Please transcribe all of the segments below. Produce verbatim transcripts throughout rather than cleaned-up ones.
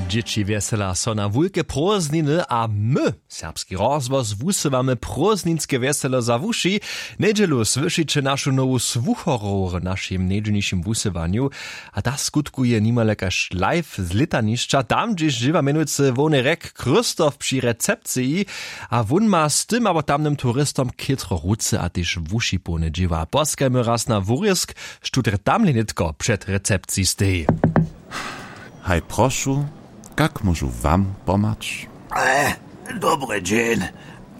Dźěći wjesela so na wulke prózdniny a my, serbski rozhłos, wusywamy prózdninske wjeselo za wuši. Njedźelu słyšiće našu nowu słucharow w našim njedźelnišim wusywanju. A ta skutkuje nimale kaž live z lětanišća, tam hdźež dźěła mjenujcy hłowny rjek christoph při recepciji. A wón ma z tym abo tamnym turistom chětro ruce a tež wuši połne dźěła. Poskajmy raz na wurězk, štó drje tamle nětko před recepciji steji. Haj, prošu, kak móžu wam pomhać? E, dobry dźeń.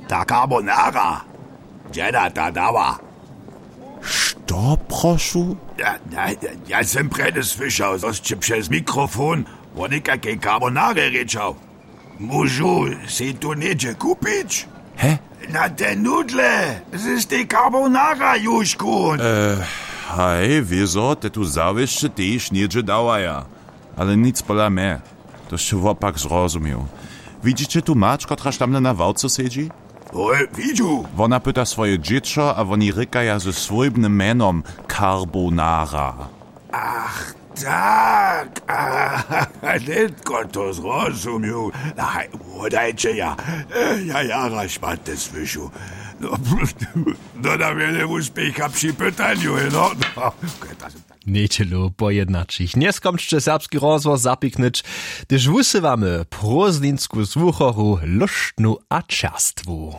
Ta carbonara, dźeda ta dała? Što, prošu? Ja, ja, ja, ja sem prjedy słyšał, zo sće přez mikrofon wo někakej carbonarje rěčał. Móžu sej tu něhdźe kupić? He? Na te nudle z tej carbonara južku. E, haj, wězo te tu zawěsće tež něhdźe dawaja. Ale nic pola mje. To sće wopak zrozumił. Widźiće tu mać, kotraž tamle na ławce sedźi? Hoj, widźu. Wona pyta swoje dźěćo a woni rěkaja ze swójbnym mjenom carbonara. Ach, tak. Nětko to zrozumił. Haj, wodajće ja. Ja jara šmaty słyšu. No, dodam wjele wuspěcha při pytanju, no. No. Njedźelu po jednaćich njeskomčće serbski rozhłos zapiknyć, hdyž wusywamy prózdninsku słuchoru, lóštnu a čerstwu.